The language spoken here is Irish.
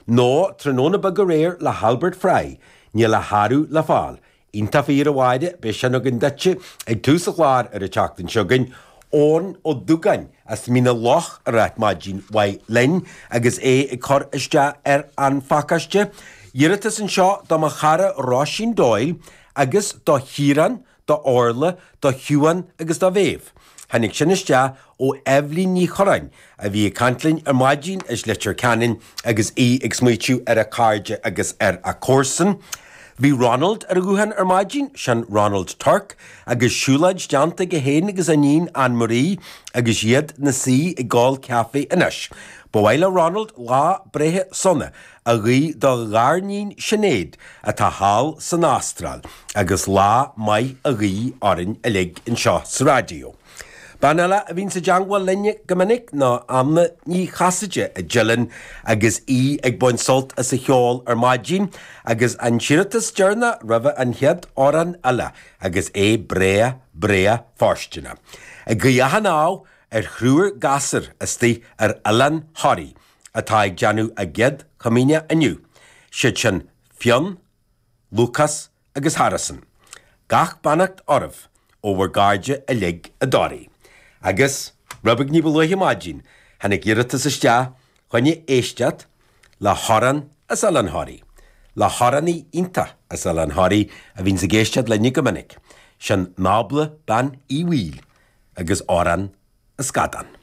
Nó Tráthnóna Beag Aréir le hAlbert Fry, níl a shárú le fáil. Iontach fíor a Mháire, beidh sin againn duitse ag tús an chláir ar an tseachtain seo chugainn. Eoin Ó Dúgáin as Mín na Loch ag ráit maidin mhaith linn agus é ag cur isteach ar an phacáiste. Iarratas anseo do mo chara Róisín Doyle agus do Chiarán, do Orla, do Shiubhán agus do Mhéabh. Tháinig sin isteach ó Eibhlín Ní Churráin a bhí ag caint linn ar maidin as Leitir Ceanainn agus í ag smaoitiú ar a cairde agus ar a comharsain. Bhí Ronald ar an ghuthán ar maidin, sin Ronald Turk, agus siúlóid déanta aige féin agus a iníon Anne Marie agus iad 'na suí ag ól caife anois. Ba mhaith le Ronald lá breithe sona a ghuí dá ghariníon Sinéad atá thall san Astráil agus lá maith a ghuí orainn uilig anseo sa raidió. Bean eile a bhíonns i dteangmháil linne go minic ná Anna Ní Chasaide i dTeileann agus í ag baint sult as an cheol ar maidin agus an t-iarratas deireanach roimhe an chéad amhrán eile agus é breá breá fóirsteanach. Ag guí achan ádh ar thriúr gasúr istigh ar Oileán Thoraí atá ag déanamh a gcéad chomaoineach inniu, siad sin Fionn, Lúcás agus Harrison. Gach beannacht oraibh ó bhur gcairde uilig i dToraigh. Agus, rud beag ní ba luaithe maidin, tháinig iarratas isteach choinne éisteacht le hamhrán as Oileán Thoraí, le hamhránaí iontach as Oileán Thoraí a bhíonns ag éisteacht linne go minic, sin Nábla Bean Uí Bhaoill agus Amhrán an Scadán.